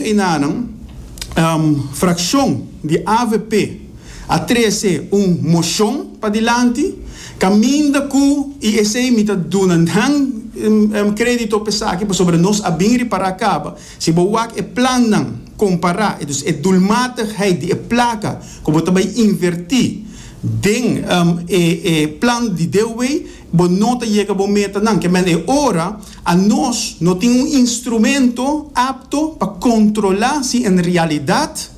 reunion einanan, fraccion di avp a trece un mocion padilanti caminda cu, y esey mi ta duna nan credito p'esaki pasobra nos a bin ripara caba, si bo wak e plannan compara, dus e doelmatigheid di e placa cu bo ta bay inverti den e plan di DOW, bo no ta yega bo metanan. Ke men e ora anos no tin un instrumento apto pa kontrolá si en realidat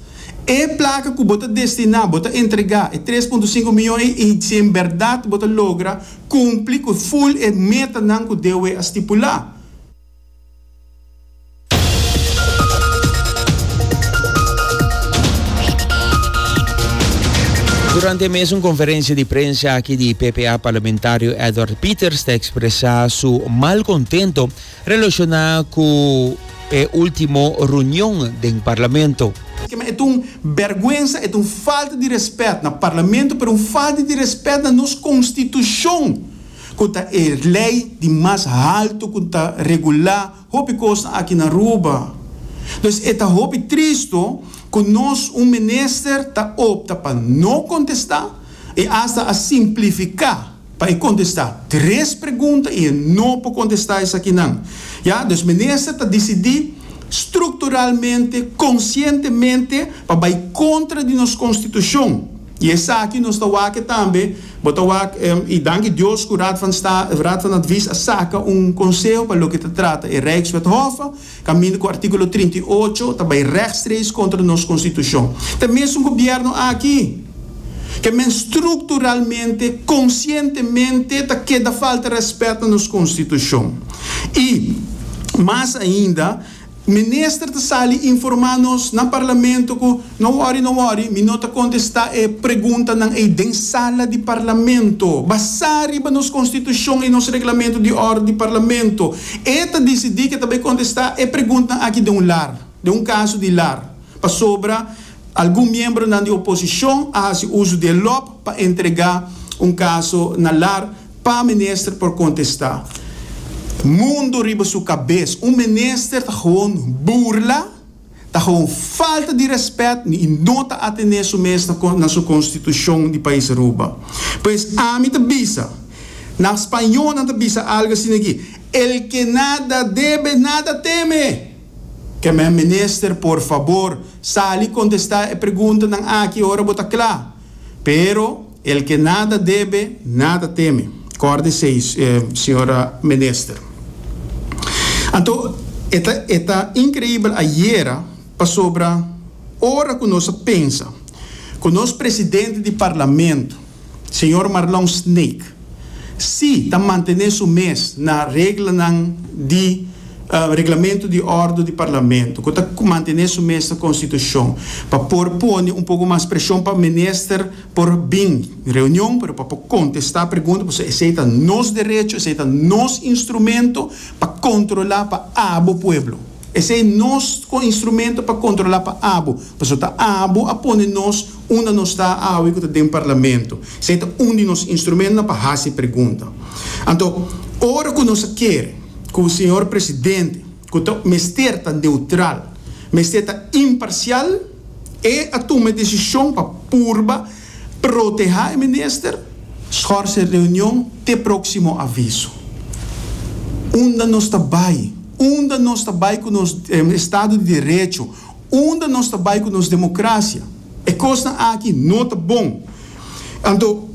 e plaka ku bo ta destiná, bo ta entregá e tres punto sinku miyon ei i si en bèrdat bo ta logra kumpli ku ful e metanan ku DOW a stipulá. Durante e mesun conferencia di prensa aki di PPA parlamentario Edward Pieters ta expresa su malcontento relaciona cu e ultimo reunion den parlamento. E ta un berguensa, e ta un falta di respet na parlamento, pero un falta di respet na nos constitucion, cu ta e ley di mas halto cu ta regula Hopi kosnan aki na Aruba. Dus e ta hopi tristo ku nos un minister ta opta pa no kontestá i asta a simplifiká pa e kontestá tres pregunta i e no por kontestá esakinan. Ya, dus minister ta disidí strukturalmente, konsientemente pa bai kontra di nos konstitushon. I esaki nos ta wak tambe, bo ta wak, i danki Dios ku Raad van Sta, Raad van Advies a saka un konseho pa loke ta trata e Rijkswet Hoffa, kaminda ku artíkulo 38 ta bai rechtstreeks kontra nos konstitushon. Ta e mesun gobièrnu aki ke men strukturalmente, konsientemente ta keda falta rèspèt na nos konstitushon. I mas ainda, Minister ta sali informa nos na Parlamento cu no worry, no worry, mi no ta contesta e preguntanan ey den sala di Parlamento. Basa riba nos Constitucion y nos Reglamento di Orde di Parlamento. E ta dicidi cu e ta bay contesta e preguntanan aki den un lar, den un caso di lar. Pasobra algun miembronan di oposicion a haci uso di e lop pa entrega un caso na lar. Pa minister por contesta. Mundo riba su cabes. Un minister ta gewoon burla, ta gewoon falta di respet y no ta atene su mes na su constitucion di pais Aruba. Pues ami ta bisa, na spañol nan ta bisa algo asina aki, El que nada debe, nada teme! Keme minister por fabor sali contesta e preguntanan aki ora bo ta cla. Pero. El que nada debe, nada teme. Kòrda esei, señora minister. Anto, e ta, e ta inkreibel ayera, pasobra ora ku nos a pensa ku nos presidente di parlamento, señor Marlon Sneek, si ta mantené su mes na reglanan di reglamento di òrdu di parlamento, ku ta mantené su mes na konstitushon, pa por pone un poko mas preshon pa minister por bin reunion, pero pa por kontestá pregunta, pasobra esei ta nos derecho, esei ta nos instrumento pa kontrolá pa abo pueblo. Esei nos instrumento pa kontrolá pa abo, pasobra ta abo a pone nos unda nos ta awe ku ta den parlamento. Esei ta un di nos instrumentonan pa hasi pregunta. Anto, ora ku nos a kere ku señor presidente, ku ta mester ta neutral, mester ta imparsial, E a tuma e desishon pa purba protehá e minister, schors e reunion te próksimo aviso. Unda nos ta bai? Unda nos ta bai ku nos estado di derecho? Unda nos ta bai ku nos demokrasia? E kosnan aki no ta bon. Anto,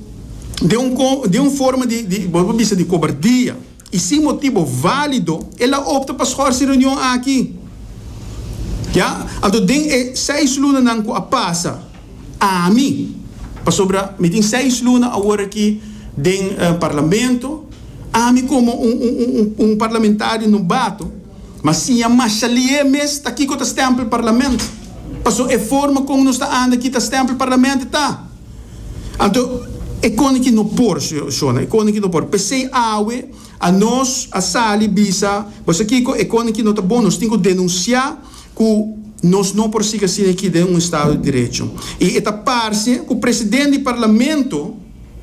den un den un forma di di bo por bisa di kobardia. I sin motibo válido el a opta pa schorsi reunion aki. Ya, anto den e seis lunanan ku a pasa, ami, pasobra mi tin seis luna awor aki den parlamento, ami komo un un un parlamentario nobato, m'a siña masha lié mes ta kiko ta stempel parlament. Pasobra e forma kon nos ta anda aki ta stempel parlament ta. Anto e koni ki no por, shona, e koni ki no por. P'esei awe anos a sali bisa, bo sa kiko, e koni ki no ta bon, nos tin ku denunsiá ku nos no por sigui asina aki den un estado di derecho. I e ta parse ku presidente di parlamento,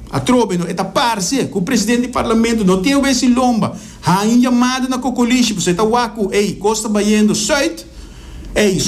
atrobe no, e ta parse ku presidente di parlamento no tin awes i lomba, haña un yamada na kokolishi, pasobra e ta wak ku, ey, kos ta bayendo sùit, ey.